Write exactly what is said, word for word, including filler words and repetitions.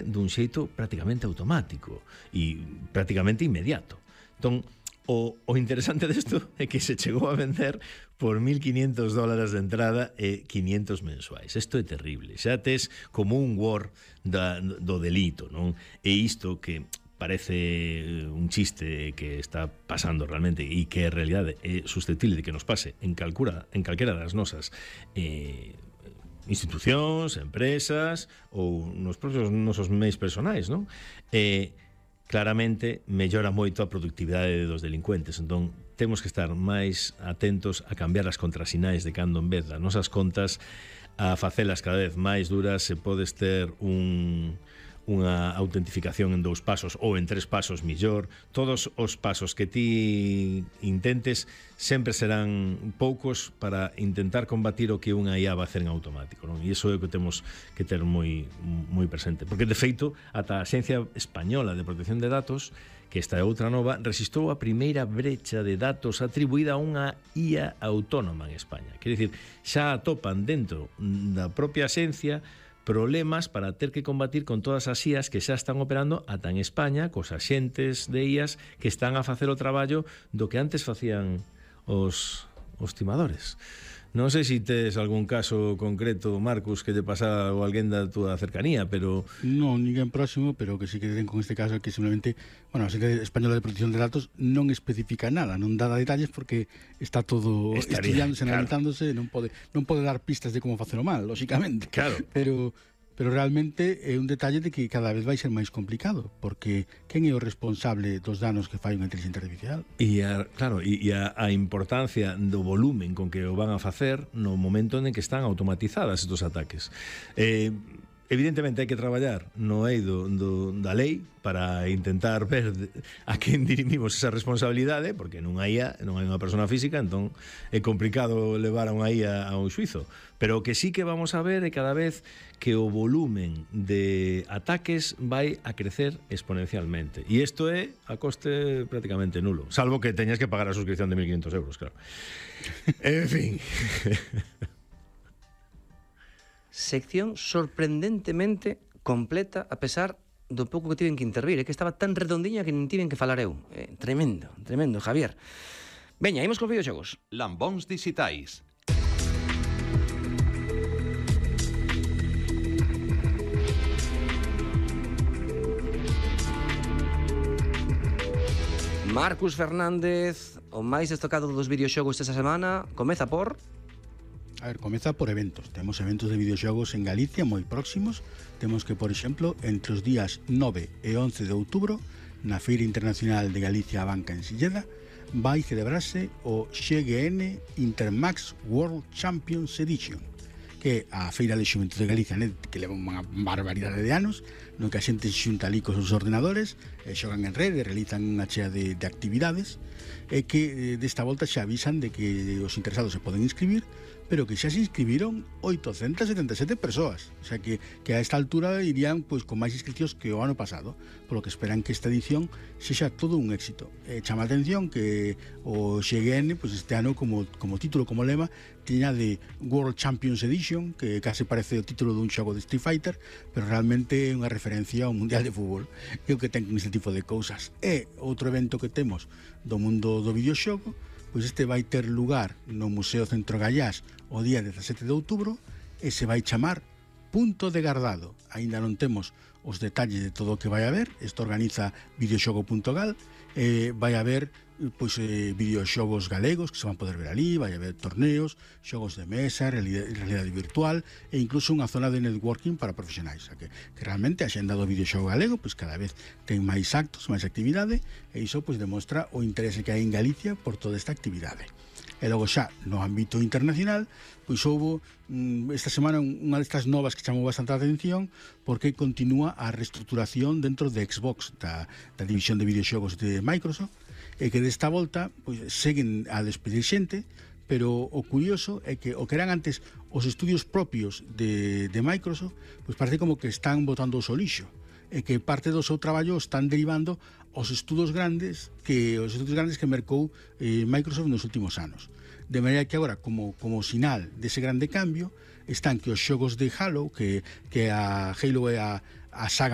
dun xeito prácticamente automático e prácticamente inmediato. Entón, o, o interesante desto é que se chegou a vender por mil quinientos dólares de entrada e quinientos mensuais. Isto é terrible. Xa tes como un war da, do delito, non? E isto que parece un chiste que está pasando realmente e que en realidade é susceptible de que nos pase en calcura, en calquera das nosas eh, institucións, empresas ou nos propios nosos meios personais, non? Eh, claramente mellora moito a productividade dos delincuentes. Entón, temos que estar máis atentos a cambiar as contrasinais de cando en vez das nosas contas a facelas cada vez máis duras. Se podes ter un unha autentificación en dous pasos ou en tres pasos millor. Todos os pasos que ti intentes sempre serán poucos para intentar combatir o que unha I A va a hacer en automático, non? E iso é o que temos que ter moi, moi presente, porque de feito ata a Axencia Española de Protección de Datos, que esta é outra nova, rexistrou a primeira brecha de datos atribuída a unha I A autónoma en España. Quer dicir, xa atopan dentro da propia axencia problemas para ter que combatir con todas as I As que xa están operando ata en España, cos axentes de I As que están a facer o traballo do que antes facían os, os timadores. Non sei se tes algún caso concreto, Marcus, que te pasa ou alguén da túa cercanía, pero... Non, ninguén próximo, pero que sí que ten con este caso que simplemente, bueno, a Agencia Española de Protección de Datos non especifica nada, non dá detalles porque está todo Estaría, estudiándose, claro, analizándose, non pode non pode dar pistas de como facelo mal, lógicamente. Claro. Pero pero realmente é un detalle de que cada vez vai ser máis complicado, porque quen é o responsable dos danos que fai unha inteligencia artificial? E a, claro, e, e a, a importancia do volumen con que o van a facer no momento en que están automatizadas estos ataques. Eh, evidentemente hai que traballar no eido do, da lei para intentar ver a quen dirimimos esa responsabilidade, porque non hai I A, non hai unha persona física, entón é complicado levar a unha I A a un xuizo. Pero o que sí que vamos a ver é cada vez que o volumen de ataques vai a crecer exponencialmente. E isto é a coste prácticamente nulo, salvo que teñas que pagar a suscripción de mil quinientos euros, claro. En fin... Sección sorprendentemente completa a pesar do pouco que tiven que intervir. É que estaba tan redondiña que nin tiven que falar eu. Eh, tremendo, tremendo, Javier. Veña, imos con videoxogos. Lambóns dixitais. Marcus Fernández, o máis destacado dos videoxogos desta semana, comeza por... A ver, comeza por eventos. Temos eventos de videoxogos en Galicia moi próximos. Temos que, por exemplo, entre os días nove e once de outubro, na Feira Internacional de Galicia a Banca en Silleda, vai celebrarse o X G N Intermax World Champions Edition, que é a Feira de Xuventude de Galicia, né, que leva unha barbaridade de anos, no que a xente se xunta ali cos seus ordenadores, e xogan en rede, realizan unha chea de, de actividades, e que desta volta xa avisan de que os interesados se poden inscribir, pero que xa se inscribiron oitocentas setenta e sete persoas, o sea que, que a esta altura irían pois, con máis inscripcións que o ano pasado, polo que esperan que esta edición sexa todo un éxito. Eh, chama a atención que o X G N pois, este ano como, como título, como lema, tiña de World Champions Edition, que case parece o título dun xogo de Street Fighter, pero realmente é unha referencia ao Mundial de Fútbol, é o que ten con este tipo de cousas. E outro evento que temos do mundo do videoxogo, pois este vai ter lugar no Museo Centro Gallás o día dezasete de outubro e se vai chamar Punto de Gardado. Aínda non temos os detalles de todo o que vai haber. Isto organiza videoxogo punto gal. Eh, vai haber pois, eh, videoxogos galegos que se van poder ver ali, vai haber torneos, xogos de mesa, realidade, realidade virtual e incluso unha zona de networking para profesionais. O sea, que, que realmente a xenda do videoxogo galego pois, cada vez ten máis actos, máis actividade e iso pois, demostra o interese que hai en Galicia por toda esta actividade. E logo xa, no ámbito internacional, pois houve mm, esta semana unha destas novas que chamou bastante a atención porque continúa a reestruturación dentro de Xbox, da, da división de videoxogos de Microsoft, e que desta volta pois, seguen a despedir xente, pero o curioso é que o que eran antes os estudios propios de, de Microsoft, pois parece como que están botando o lixo, e que parte do seu traballo están derivando os estudos grandes que os estudos grandes que mercou eh, Microsoft nos últimos anos. De maneira que agora, como, como sinal dese grande cambio, están que os xogos de Halo, que, que a Halo é a, a saga